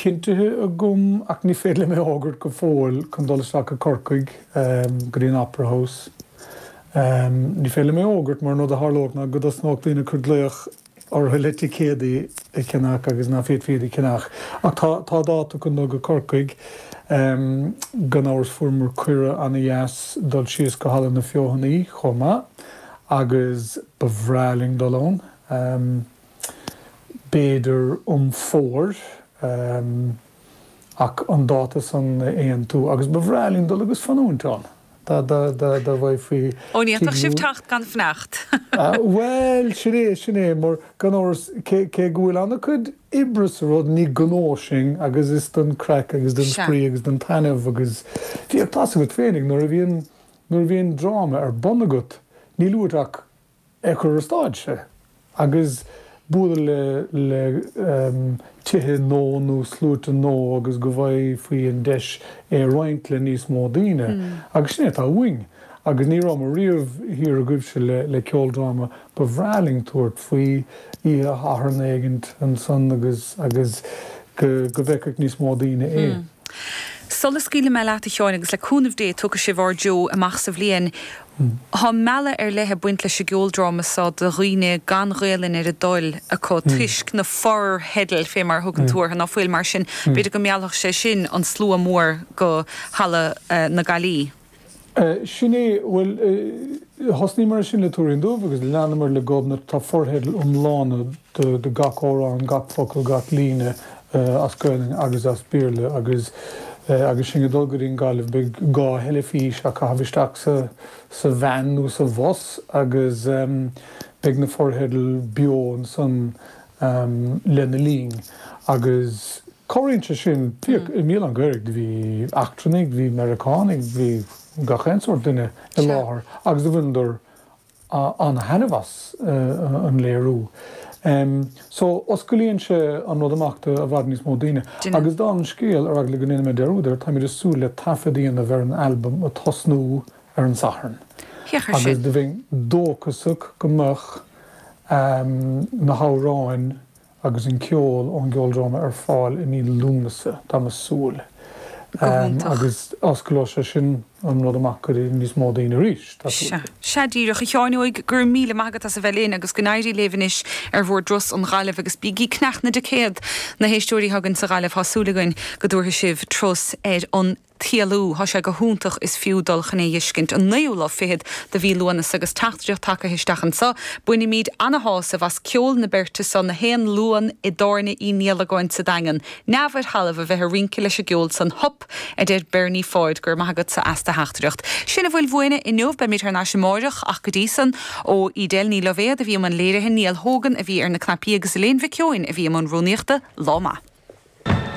cinntithe agam ach ní féidir liom é a fhógairt go fóill chun dul isteach go Corcaigh go dtí an Opera House. Ní féidir liom é a fhógairt mar an rud a tharlódh ná go dtosnódh daoine ag cur glaoch orthu le ticéadaí a cheannach agus ná féadfaí iad a cheannach. Ach tá tá dáta chun dul go Corcaigh. Gan amhras fuaireamar cuireadh ana-dheas dul síos go Halla na Feothanaí chomh maith agus ba bhreá linn dul ann. B'fhéidir um fómhar ach an dáta san a aontú agus ba bhreá linn dul agus fanúint ann dá bhfaighfí Ó ní fhéadfadh sibh teacht gan fanacht. Bhuel, sin é, sin é, mar gan amhras, cé go bhfuil an-chuid oibre sa rud, ní gnó sinn agus is don craic agus don spraoi agus don taitneamh agus bhíodh tá's agat féinig nuair a bhíonn, nuair a bhíonn dráma ar bun agat, níl uait ach é a chur ar stáitse agus bualadh le le tithe nó nó sluaite nó agus go bhfaighfí an deis é a roinnt le níos mó daoine agus sin é atá uainn agus ní rabhamar riamh thiar agaibhse le le ceoldráma ba bhreá linn tabhairt faoi oíche Shathairn éigint ansan agus agus go go bhfeicfeadh níos mó daoine é. Sula scaoilfidh mé leat a Sheáin agus le cúnamh Dé tiocfaidh sibh ár dtreo amach sa bhliain, Tá mealladh ar leith ag baint leis an gceoldráma seo do dhaoine gan Ghaelainn ar a dtoil acu toisc na fortheidil, fé mar a thugann tú orthu, ná fuil. Mar sin, b'fhéidir go meallfadh sé sin an slua mór go Halla na Gailí. Sin é. Bhuel, thosnaíomar ar sin le Tuairín Dubh agus leanamar le Gobnait. Tá fortheidil iomlána do gach amhrán, gach focal, gach líne as Gaelainn agus as Béarla agus agus sinn ag dul go dtí an Ghaillimh beidh 2 theilifís á caitheamh isteach sa sa veain nó sa bhus agus beidh na fortheidil beo ansan lena linn agus cabhraíonn sé sin. Bhíodh i mBialann Ghaorthaidh bhí eachtrannaigh, bhí Meiriceánaigh, bhí gach aon sórt duine i láthair agus do bhaineadar an-thaitneamh as an léiriú. So, osclaíonn sé an rud amach do i bhfad níos mó daoine. Agus dála an scéil, ar eagla go ndéanfaidh mé dearúd air, táimid ag súil le taifead a dhéanamh ar an albam ag tosnú ar an Satharn. Agus do bheinn dóchasach go mbeadh na hamhráin agus an ceol ón gceoldráma ar fáil i mí Lúnasa, táim ag súil. Go hiontach. Agus osclóidh sé sin an rud amach go dtí níos mó daoine arís, tá súil Sea. Sea díreach. A Sheáin Óig, go raibh míle maith agat as a bheith linn agus go n-éirí libh anois ar bhur dturas ón Ghaillimh agus bígí ag ceannach na dticéad, na héisteoirí atá againn sa Ghaillimh, tá súil againn go dtabharfaidh sibh turas ar an. tSiolú. Thá sé go hiontach is fiú dul chun é dh'fheiscint. An naoú lá fichead de mhí Lúnasa agus teachtaireacht tagaithe isteach anso. Bainimíd ana-shásamh as ceol na beirte so na haon Luan i dTábhairne Uí Niallagáin sa Daingean. Neamh ar thalamh a bheith a rince leis an gceol san. Hup! a deir Bernie Pháid. Go raibh maith agatsa as do theachtaireacht. Sin a bhfuil uainne inniu. Beimid thar n-ais amáireach ach go dtí san, ó Edel Ní Loibhéad a bhí i mbun léirithe, Niall Hogan a bhí ar na cnaipí agus Elaine Mhic Eoin a bhí i mbun rúnaíochta. Lá maith.